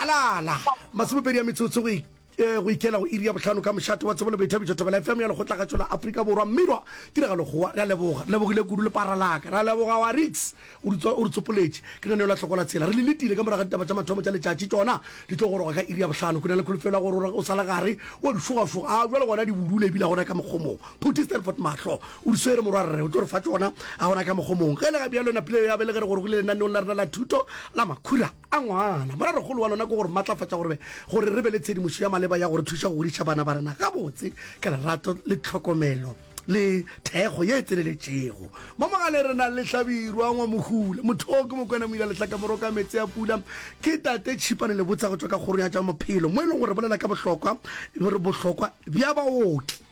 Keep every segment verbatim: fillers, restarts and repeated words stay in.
Halala! Masomepedi a metsotso go eh, go ikela go iri ya bohlano ka mošate wa tsebo le boithabišo Thobela F M ya Lekgotlakgatšo la Afrika Borwa. Mmirwa tiragalo kgowa, re a leboga. Re lebogile kudu lepara la ka. Re a leboga wa Rix, o re o re tsopoletše. Ke lenaneo la Hloko la Tsela. Re le letile ka morago ga ditaba tša mathomo tša letšatši, tšona di tlo goroga ka iri ya bohlano. Ke na le kholofelo ya gore o sa le gare wa di šogašoga. A bjale gona di budule ebile gona ka mokgomong. Phuti Stanford Mahlo o di swere morwarre, o tlo re fa tšona a gona ka mokgomong. Ge e le ga bjalo napile ya be le ge re gorogile lenaneong la rena la thuto la makhura a ngwana. Morarogolo wa lona ke go re matlafatša gore gore re be le tshedimošo ya maleba ya go re thuša go godiša bana ba rena gabotse ka lerato le tlhokomelo le thekgo ye e tseneletšego. Mo mogaleng re na le Hlabirwa Ngwamohula, motho o ke Mokwena Moila Lehlaka Moroka Meetse a Pula, ke Tate Tšhipane Lebotsa go tšwa ka Kgorong ya tša Maphelo mo e leng gore re bolela ka bohlokwa bohlokwa bja baoki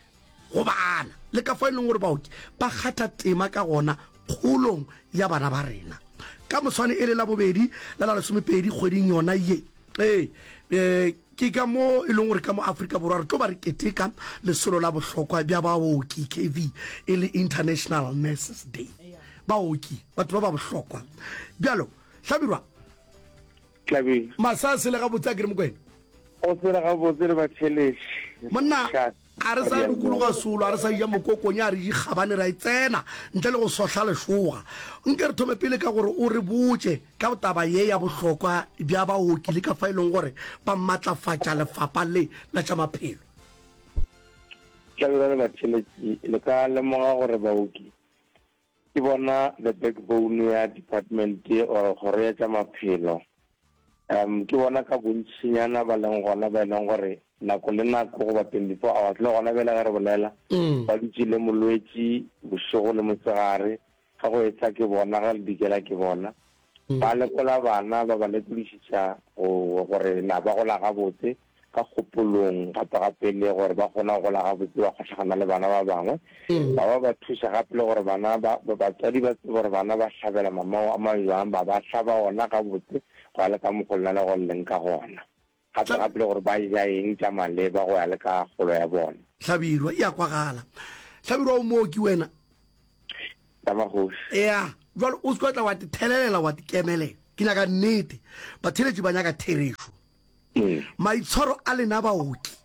go bana le ka fao e leng gore baoki ba kgatha tema ka gona kgolong ya bana ba rena. Ka moswane e le Labobedi la la lesomepedi kgweding yona ye, ee, e, ke ka mo e leng gore ka mo Afrika Borwa re tlo ba re keteka lesolo la bohlokwa bja baoki, K V, e le International Nurses Day. Baoki, batho ba ba bohlokwa. Bjalo, Hlabirwa, Hlabirwa. Masa a sele gabotse a ke re Mokwena? O sele gabotse le batheeletši. Monna, a re sa dukologa solo, a re sa ja mokokonya, a re je kgabane, ra e tsena ntle le go sohla lešoga. Nke re thome pele ka gore o re botše ka taba ye ya bohlokwa bja baoki le ka fa e leng gore ba matlafatša lefapha le la tša maphelo. Hlabirwa le batheeletši, le ka lemoga gore baoki ke bona the backbone ya department or kgoro ya tša maphelo. Um ke bona ka bontšinyana ba leng gona ba e leng gore nako le nako goba twenty-four hours le gona bjale ge re bolela ba dutše le molwetši bošego le mosegare, ge go etsa ke bona, ge le dikela ke bona. Ba lekola bana, ba ba lekodišiša go gore na ba gola gabotse ka kgopolong, gape gape le gore ba kgona go gola gabotse, ba kgohlagana le bana ba bangwe. Ba ba ba thuša gape le gore bana ba, ba batswadi ba tsebe gore bana ba hlabela mamao a majwang, ba ba hlaba ona gabotse go ya le ka mokgwa lena le go leng ka gona. Gape gape le gore ba ja eng tša maleba go ya le ka kgolo ya bona. Hlabirwa, e a kwagala. Hlabirwa, o mooki wena? Tamagoši. Ea, jwale o se ke wa tla wa te thelelela wa te kemelela. Ke nyaka nnete. Batheeletši ba nyaka therešo. Maitshwaro a lena baoki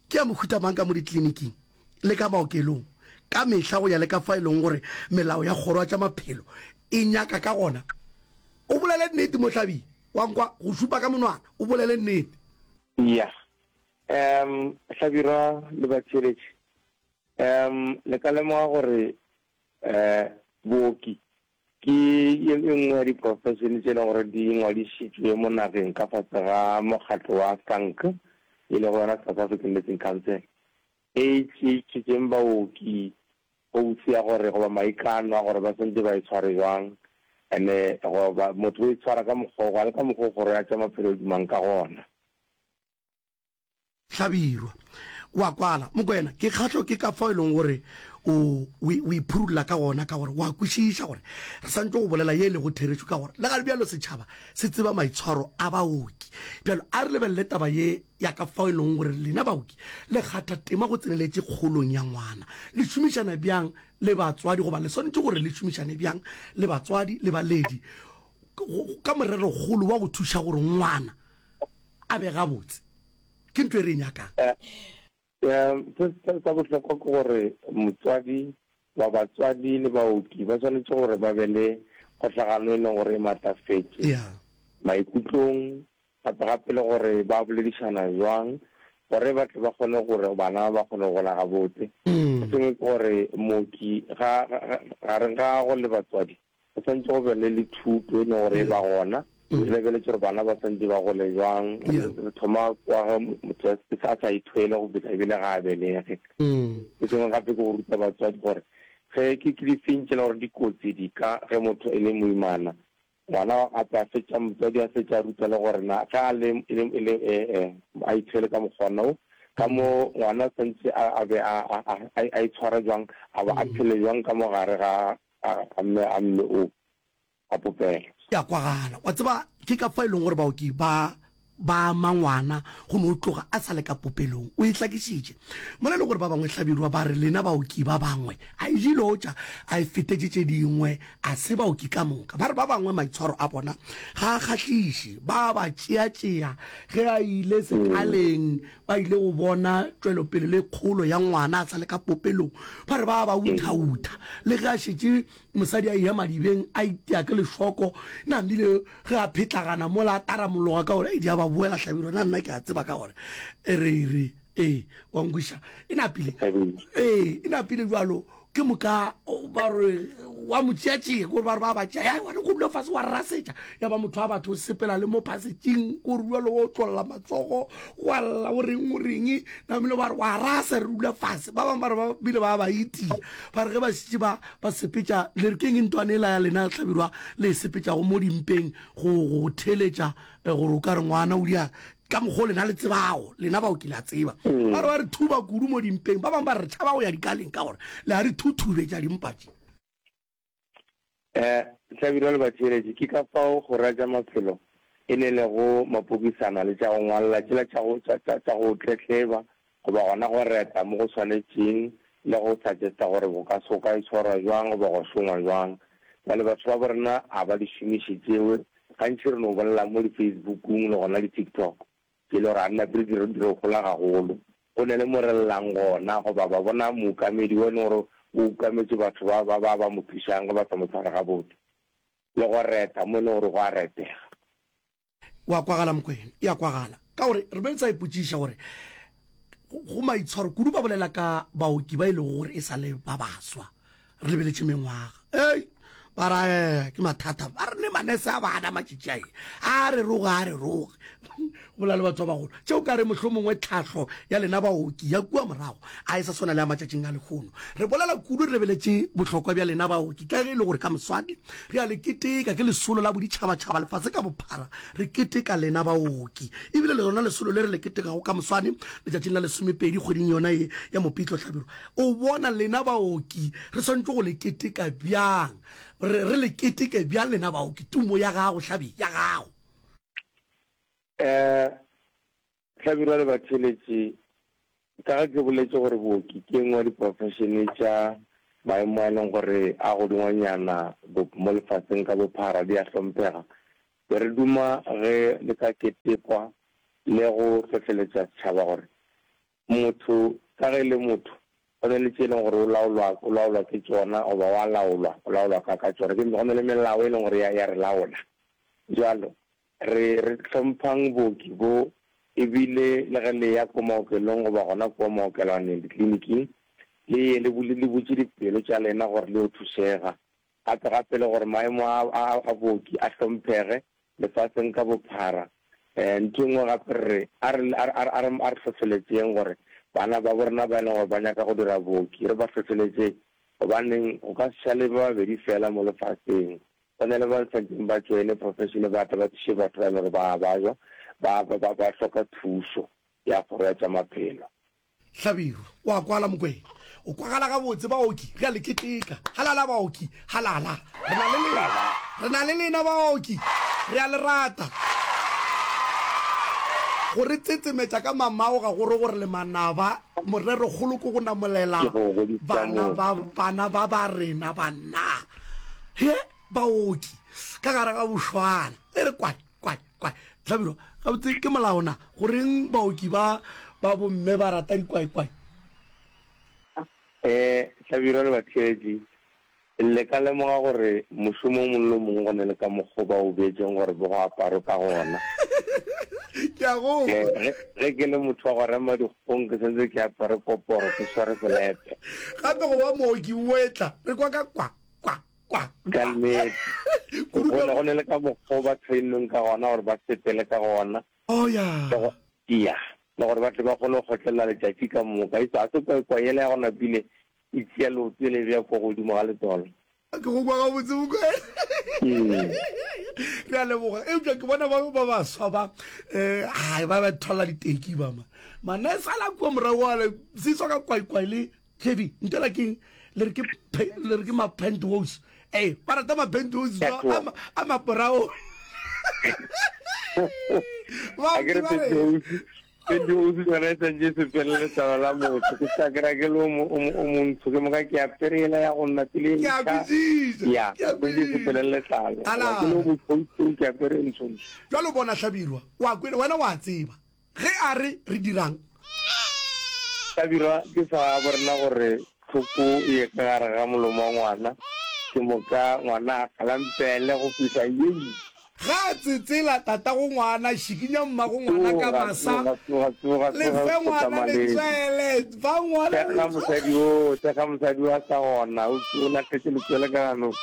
ke a mohuta mang ka mo dikliniking le ka maokelong ka mehla go ya le ka fa e leng gore melao ya kgoro ya tša maphelo e nyaka ka gona? O bolele nnete Mohlabi, wa nkwa go šupa ka monwana, o bolele nnete. Ya. Um Hlabirwa le batheeletši, um le ka lemoga gore um booki ke ye nngwe ya diprofešene tše e leng gore di ngwadišitšwe mo nageng ka fase ga mokgatlo wa SANC, e lego yona South African Nursing Council, e tšeetšeng baoki oath ya gore goba maikano a gore ba swanetše ba itshware jwang, ene goba motho o itshwara ka mokgwa o, le ka mokgwa o kgoro ya tša maphelo e dumang ka gona. Hlabirwa, wa kwala. Mokwena, ke kgahlo ke ka fao e leng gore o, o, o iphurulla ka gona, ka gore wa kwešiša gore re santše go bolela ye e lego therešo, ka gore le ga bjalo setšhaba se tseba maitshwaro a baoki. Bjalo a re lebelele taba ye ya ka fao e leng gore lena baoki le kgatha tema go tseneletše kgolong ya ngwana. Le šomišana bjang le batswadi, goba le swanetše gore le šomišane bjang le batswadi le baledi ka morerokgolo wa go thuša gore ngwana a be gabotse? Ke ntho e re e nyakang. Se sa bohlokwa ke gore motswadi ba batswadi le baoki ba swanetše gore ba be le kgohlagano e leng gore e matlafetše maikutlong, gape gape le gore ba boledišana jwang gore ba tle ba kgone gore bana ba kgone go gola gabotse. Se sengwe ke gore mooki ga gareng ga gagwe le batswadi go swanetše go be le le thuto e leng gore e ba gona, re lebeletše gore bana ba swanetše ba gole jwang. Re thoma kwa ge motho a sa ithwele go fihla ebile ga a belege. Se sengwe gape ke go ruta batswadi gore ge ke ke difeng tše e leng gore dikotsi di ka ge motho e le moimana, ngwana gape a fetša motswadi a fetša a ruta le gore na ge a le e le e le a ithwele ka mokgwana o, ka mo ngwana swanetše a be a a itshware jwang, a ba a phele jwang ka mo gare ga a mme a mme o a popelo. Ya kwagala. Wa tseba, ke ka fa e leng gore baoki ba ba ama ngwana go no tloga a sa le ka popelong. O e hlakišitše mola e le gore ba bangwe Hlabirwa ba re lena baoki ba bangwe a e jilotša a e fetetše tše dingwe a se baoki ka moka. Ba re ba bangwe maitshwaro a bona ga a kgahliše, ba ba tšeatšea ge a ile sekaleng ba ile go bona tšwelopele le kgolo ya ngwana a sa le ka popelong. Ba re ba ba uthautha le ge a šetše mosadi a eya madibeng a itia ke lešoko, namile ge a phetlagana mola a taramologa ka gore, Ei, di a ba boela Hlabirwa, na nna ke a tseba ka gore e re re ee, wa nkweša, e napile, ee, e napile bjalo. Ke moka ba re wa mo tšeatšea, kore ba re ba ba tšea, ya wena go dula fase wa rasetša, ya ba motho wa batho o sepela le mo phasetšing, kore bjalo o otlolla matsogo wa lla o reng o reng, namile ba re wa rasa re dula fase. Ba bangwe ba re ba bile ba ba itia, ba re ge ba šetše ba ba sepetša, le re keng ntwane ela ya lena Hlabirwa le e sepetšago mo dimpeng go go theeletša gore o ka re ngwana o dia ka mokgwa o lena le tsebago, lena bao ke le a tseba. Ba re ba re thuba kudu mo dimpeng, ba bangwe ba re re tšhaba go ya dikaleng ka gore le a re thuthubetša dimpa tše. Um Hlabirwa le batheeletši, ke ka fao go ratša maphelo e ne lego mapokisana le tša go ngwalla tšela tša go, tša, tša, tša go tletleba goba gona go reta mo go swanetšeng le go suggesta gore go ka, go ka itshwarwa bjang goba gwa šongwa bjang. Bjale batho ba borena a ba di šomiše tšewe, gantši re no bolela mo di-Facebookung le gona di-TikTok, tše e le gore ga di nape di re, di re hola gagolo. Go ne le mo re llang gona goba ba bona mookamedi wo e leng gore o ukametše batho ba, ba, ba ba mo thušang ge ba sa mo tshware gabotse, le go reta mo e leng gore go a retega. Wa kwagala Mokwena, e a kwagala. Ka gore re be re sa ipotšiša gore go maitshwaro kudu ba bolela ka baoki ba e lego gore e sa le ba baswa, re lebeletše mengwaga. Ei, ba ra eh, ke mathata. Ba re ne manese a bana matšatši a e, a re roge, a re roge. Go bolela le batho ba bagolo. Tše o ka re mohlomongwe tlhahlo ya lena baoki ya kua morago a e sa swana le ya matšatšing a lehono. Re bolela kudu re lebeletše bohlokwa bja lena baoki ka ge e le gore ka moswane re a le keteka, ke lesolo la boditšhabatšhaba lefase ka bophara re keteka lena baoki. Ebile le lona lesolo le re le ketekago ka moswane letšatšing la lesomepedi kgweding yona ye ya Mopitlo Hlabirwa. O bona lena baoki re swanetše go le keteka bjang? Re, re le keteke bjang lena baoki? Tumo ya gago Hlabi, ya gago. Um Hlabirwa le batheeletši, ka ge ke boletše gore booki ke e nngwe ya diprofešene tša maemo a e leng gore a godingwanyana mo lefaseng ka bophara di a hlomphega, be re duma ge le ka ketekwa le go hlohleletša setšhaba gore motho ka ge e le motho go na le tše e leng gore o laolwa, o laolwa ke tšona goba wa laolwa, o laolwa ka, ka tšona. Ke, go na le melao e leng gore ya, ya re laola. Bjalo, re, re hlomphang booki bo, ebile le ge le ya ko maokelong goba gona kua maokelwaneng, dikliniking, le ye le bule, le butše dipelo tša lena gore le yo thušega. Gape, gape le gore maemo a, a, a booki a hlomphege lefaseng ka bophara. Ntho e nngwe gape re re, a re, a re, a re, a re, a re hlohleletšeng gore bana babo rena ba e leng gore ba nyaka go dira booki, re ba hlohleletše, gobaneng go ka se šale ba babedi feela mo lefaseng. Go na le ba swanetšeng ba tšoene profession ba tle ba thuše batho ba e leng gore ba a bajwa, ba, ba, ba, ba hloka thušo ya kgoro ya tša maphelo. Hlabirwa, O a kwala Mokwena? O kwagala gabotse, baoki, re a le keteka. Halala baoki, halala. Re na le lena. Re na le lena baoki. Re a le rata. Go re tsetsemetša ka mamao ga go re gore le manaba. Morerokgolo ke go namolela Ke go godisa bana ba, motho. bana ba ba rena banna. He, baoki, ka gare ga bošwana. E re kwae, kwae, kwae. Hlabirwa, Gabotse ke molao na? Goreng baoki ba ba bomme ba rata dikwaikwai? Ee, Hlabirwa le batheetši, le ka lemoga gore mošomo o mongwe le o mongwe go na le ka mokgo ba o beetšeng gore bo go aparwe ka gona. Ke a go Ee, kwa. ge, ge ke le motho wa go rema dikgong ke swanetše ke apare koporo, ke sware selepe. Gape go ba mooki o etla, re kwa ka kwa, kwa, kwa, Ka kwa. nnete. Kudu Go ka ne, go ne le ka mokgo ba trainweng ka gona gore ba sepele ka gona. Oh, ya. Le go, ya, le gore ba tle ba kgone go kgotlelela letšatši ka moka. E se, ga se kwaekwae yela ya go napile e tšea leoto e le bea kwa godimo ga letolo. Ke go kwa gabotse, Mokwena. Mm. Re a leboga. Eupša ke bona ba ba baswa ba, eh, ai, ba ba thola diteki ba ma. Manese a la kua morago ale, se tswa ka kwaekwae le Kevin, ntela keng le re ke le re ke ma penthouse. Ee, ba rata ma penthouse a ma a ma porao. A ke re penthouse, penthouse yona e santše e sepele letlalo la motho. Ke sa kry-a ke le o mo- o mo- o montsho, ke moka ke apere yela ya go nna pele e Ke a ntšha. kwešiša, Ya, ke a santše e sepele kwešiša. letlalo. Ala. Goba ke le o motšhweu-tšhweu, ke apere e ntshontsho. Bjalo bona Hlabirwa, o a kwele, wena o a tseba. Ge a re re dirang? Hlabirwa ke sa borena gore tlhoko e ye ka gare ga molomo wa ngwana, ke moka ngwana a galampele go fihla yei. Ge a tsetsela tatago ngwana, šikinya mmago ngwana ka Tsoga, masa, tsoga, tsoga, tsoga, le tsoga, fe o ngwana hloka maleme. letswele, fa ngwana Thekga letswele. mosadi wo, thekga mosadi wo a sa gona, o, o lahletše letswele ka ganong.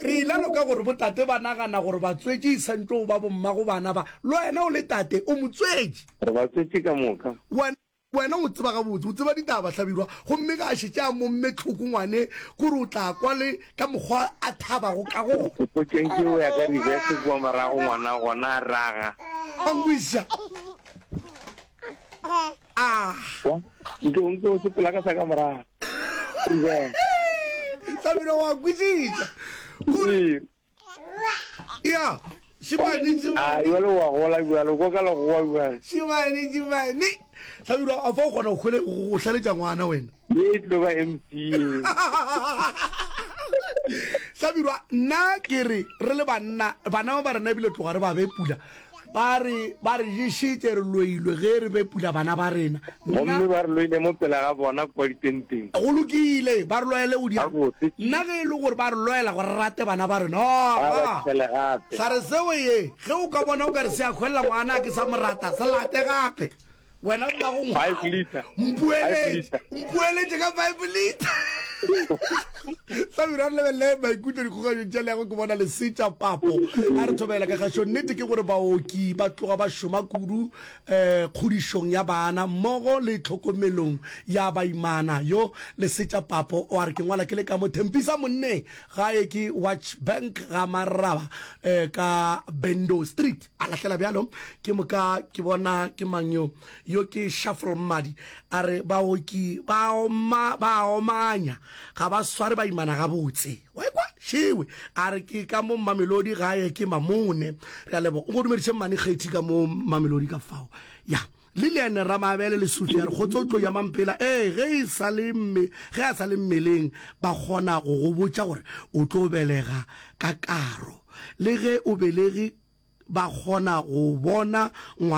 Re ile loka gore botate ba nagana gore batswetši e santšwe go ba bommago bana ba. Le wena o le tate, o motswetši. Re batswetši ka moka. Wena, wena o tseba gabotse, o tseba ditaba, Hlabirwa. Gomme ge a šetše a momme tlhoko ngwane, kore o tla kwa le ka mokgwa a thabago ka gona. Mpotšeng ke o ya ka reverse kua morago ngwana gona a raga. A nkwešiša. Ah. Wa, nke o nke o sepela ka sa ka morago. Reverse. Hlabirwa wa kwešiša. Kore. Ee. Ya, šimane, A šimane. bjale wa gola bjale, kwa ka legoa bjale. Šimane, šimane. Hlabirwa, a fa o kgona go hwele, go hlaletša ngwana wena. Ye e tlo ba M C ye. Hlabirwa, nna ke re, re le banna, bana ba ba rena ebile tloga re ba be pula. Ba re, ba re ješitše, re loilwe ge re be pula bana ba rena. Nna. Gomme ba re loile mo pele ga bona kua ditenteng. Go lokile, ba re loele go diang? Gabotse. Nna ge e le gore ba re loela gore re rate bana ba rena, Ba ba aa, tšhele gape. Hlare seo ye, ge o ka bona o ka re se a hwelela ngwana a ke sa mo rata, se late gape. Wena mmago Five ngwana, litre. Five mpoeletše, litre. mpoeletše ka five litre. Hlabirwa, re lebelele maikutlo dikgokaganyong tša leago ke bona Lesetša Papo a re thobela ka kgašo. Nnete ke gore baoki ba tloga ba šoma kudu um kgodišong ya bana mmogo le tlhokomelong ya baimana. Yo Lesetša Papo o a re ke ngwala ke le ka mo Thempisa monneng gae ke Watch Bank ga Maraba um ka Bendo Street. A lahlela bjalo ke moka ke bona ke mang yo yo ke Shuffle Mmadi a re baoki ba oma ba omanya ga ba sware baimana gabotse. Wa ekwa? Šewe a re ke ka mo Mamelodi gae ke Mamone. Re a leboga. O go dumediše Mmane Kgethi ka mo Mamelodi ka fao. Ya. Lilian Ramabele Lesufi a re kgotsotlo ya Mampela ee ge e sa le mme ge a sa le mmeleng ba kgona go go botša gore o tlo belega ka karo le ge o belege ba kgona go bona ngwana